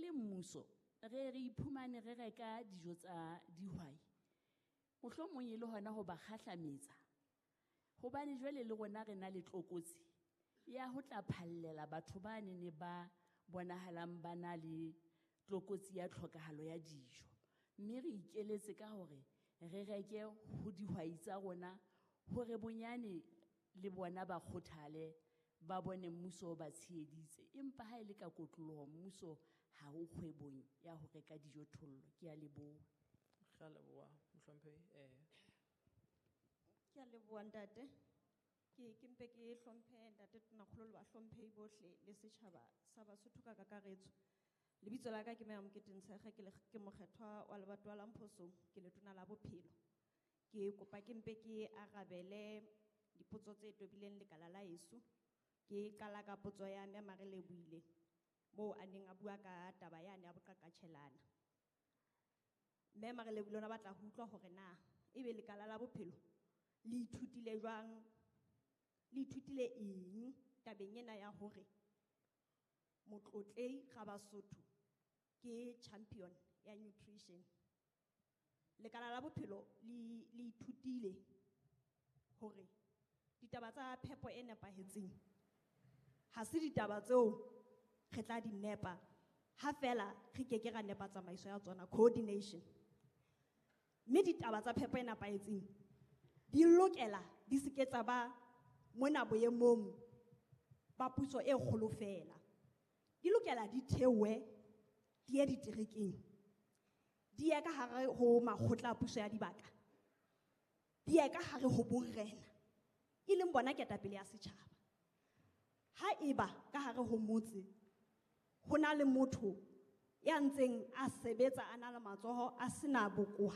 Re le mmuso re re iphumane re reka dijo tsa dihwai, mohlomong e le hona ho ba kgahlametsa, hobane jwale le rona re na le tlokotsi ya ho tla phallela batho ba nene ba bonahalang ba na le tlokotsi ya tlhokahalo ya dijo. Mme re ikeletse ka hore re reke ho dihwai tsa rona hore bonyane le bona ba kgothale, ba bone mmuso o ba tsheheditse. Empa ha e le ka kotloloho, mmuso ha o kgwebong ya ho reka dijothollo. Ke a leboha. Re a leboha, mohlomphehi. Ke a leboha, ntate. Ke mpe ke hlomphe ntate Tonakgolo le bahlomphehi bohle le setjhaba sa Basotho ka kakaretso. Lebitso la ka ke Mea Mokete Ntshekge, ke mokgethwa wa lebatowa la Mphosong, ke letona la bophelo. Ke kopa ke mpe ke arabele dipotso tse tobileng lekala la heso. Ke qala ka potso ya Mme Marelebohile moo a neng a bua ka taba yane ya boqaqatjhelana. Mme Marelebohile o ne a batla ho utlwa hore na ebe lekala la bophelo le ithutile jwang, le ithutile eng tabeng ena ya hore Motlotlei Rabasotho ke champion ya nutrition. Lekala la bophelo le ithutile hore ditaba tsa phepo e nepahetseng ha se ditaba tseo re tla di nepa ha fela re ke ke ra nepa tsamaiso ya tsona, coordination. Mme ditaba tsa phepo e nepahetseng di lokela di se ke tsa ba mona boemong ba puso e kgolo fela. Di lokela di theohe di ye diterekeng, di ye ka hare ho makgotla a puso ya dibaka, di ye ka hare ho borena, e leng bona ketapele ya setjhaba. Ha eba ka hare ho motse ho na le motho ya ntseng a sebetsa a na le matsoho a sena bokowa,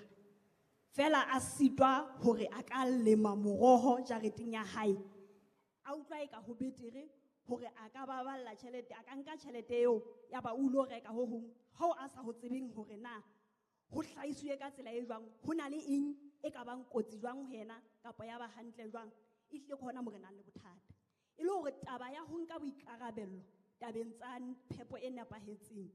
fela a sitwa hore a ka lema moroho jareteng ya hae, a utlwa e ka ho betere hore a ka baballa tjhelete, a ka nka tjhelete eo ya ba o lo reka ho hong hoo a sa ho tsebeng hore na ho hlahiswe ka tsela e jwang, ho na le eng e ka bang kotsi jwang ho yena kapa ya ba hantle jwang. Ehlile ke hona moo re nang le bothata. E le hore taba ya ho nka boikarabello tabeng tsa phepo e nepahetseng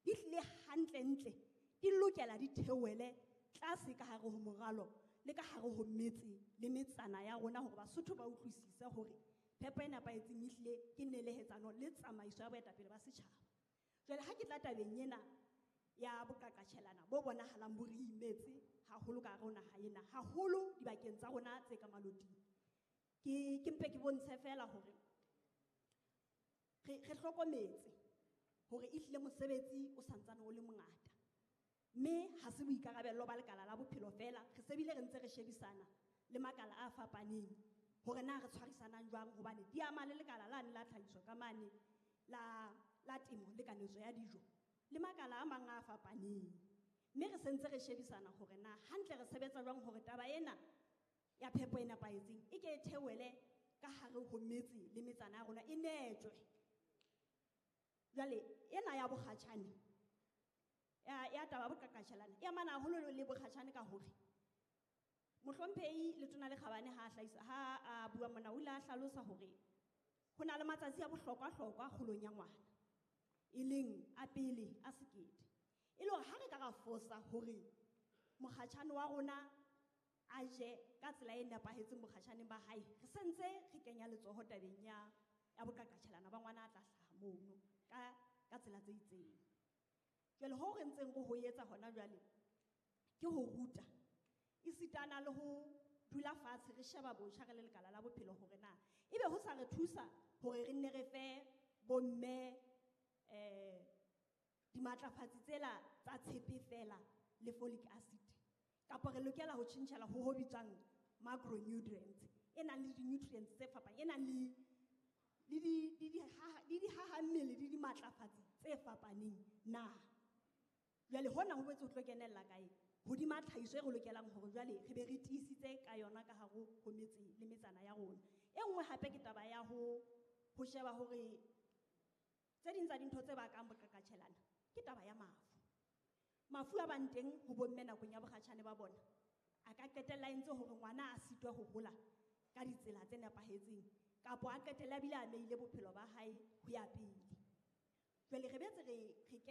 di hlile hantlentle di lokela di theohele tlase ka hare ho moralo le ka hare ho metse le metsana ya rona, hore Basotho ba utlwisise hore phepo e nepahetseng ehlile ke nelehetsano le tsamaiso ya boetapele ba setjhaba. Jwale ha ke tla tabeng ena ya boqaqatjhelana bo bonahalang bo re imetse haholo ka hare ho naha ena, haholo dibakeng tsa rona tse ka maloting, ke mpe ke bontshe fela hore re hlokometse hore ehlile mosebetsi o santsane o le mongata, mme ha se boikarabello ba lekala la bophelo fela. Re se bile re ntse re shebisana le makala a fapaneng hore na re tshwarisanang jwang, hobane di ama le lekala lane la tlhahiso ka mane la temo le kanetso ya dijo le makala a mang a fapaneng. Mme re sentse re shebisana hore na hantle re sebetsa jwang hore taba ena ya phepo e nepahetseng e ke e theohele ka hare ho metse le metsana ya rona, e netjwe. Jwale ena ya bokgatjhane, ya taba ya boqaqatjhelana e amana haholo le bokgatjhane ka hore mohlomphehi Letona le Kgabane ha a hlahisa, ha a bua mona, o ile a hlalosa hore ho na le matsatsi a bohlokwa-hlokwa kgolong ya ngwana, e leng a pele a sekete. E le hore ha re ka ra fosa hore mokgatjhane wa rona a je ka tsela e nepahetseng bokgatjhaneng ba hae, re sentse re kenya letsoho tabeng ya boqaqatjhelana ba ngwana a tla hlaha mono ka tsela tse itseng. Jwale ho re ntseng re ho etsa hona jwale ke ho ruta esitana le ho dula fatshe re sheba botjha re le lekala la bophelo hore na ebe ho sa re thusa hore re nne re fe bomme dimatlafatsi tsela tsa tshepe fela le folic acid, kapa re lokela ho tjhentjhela ho ho bitswang macronutrients e nang le di-nutrients tse fapaneng, e nang le di dihaha mmele le dimatlafatsi tse fapaneng na. Jwale hona ho boetse ho tlo kenella kae? Hodima tlhahiso e re lokelang hore jwale re be re tiisitse ka yona ka hare ho metse le metsana ya rona. E nngwe hape ke taba ya ho sheba hore tse ding tsa dintho tse bakang boqaqatjhelana ke taba ya mafu. Mafu a bang teng ho bomme nakong ya bokgatjhane ba bona a ka qetella e ntse hore ngwana a sitwe ho hola ka ditsela tse nepahetseng, kapa a qetella a bile a meile bophelo ba hae ho ya pele. Jwale re boetse re